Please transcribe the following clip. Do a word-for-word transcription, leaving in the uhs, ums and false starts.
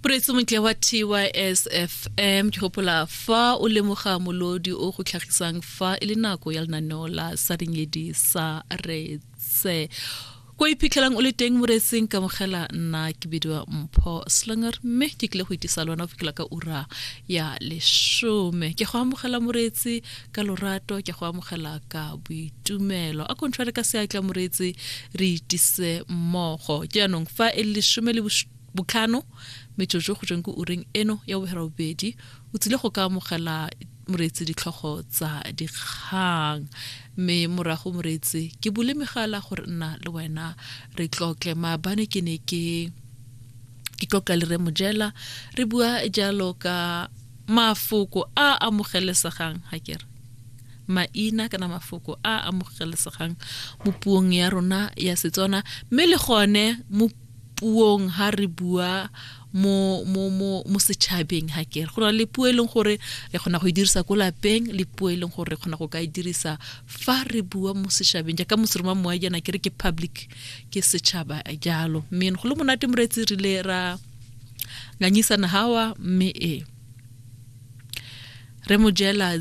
Moreetsi montle wa T Y S F M, ke gopola fa o lemoga molodi o go tlhagisang fa e le nako ya lenaneo la Sa Dinyedi sa Retse. Ko iphitlhelang o le teng moreetsing, kamogela nna ke bidiwa Mpho Slinger, mme ke tlile go itisa lona go fitlhela ka ura ya lesome. Ke go amogela moreetsi ka lorato, ke go amogela ka boitumelo. A kontshware ka seatla moreetsi, re itise mmogo. Jaanong fa e le lesome le botlhano metsotso go tsweng ko ureng eno ya boferabobedi, o tsile go ka amogela moreetsi ditlhogo tsa dikgang, mme morago moreetsi ke bule megala gore nna le wena re tlotle. Maabane ke ne ke ke tlotla le re Mojela, re bua jalo ka mafoko a amogelesegang, ga kere maina kana mafoko a amogelesegang mo puong ya rona ya Setswana, mme le gone mo puong ha re bua mo mo mo mo setšhabeng. Ha kere go na le puo e leng gore re kgona go e dirisa ko lapeng, le puo e leng gore re kgona go ka e dirisa fa re bua mo setšhabeng, jaaka moseroma moa jaana ke re ke public, ke setšhaba jalo. Mme go le monate moreetsi, rile ra nganyisana hawa, mme e re Mojela.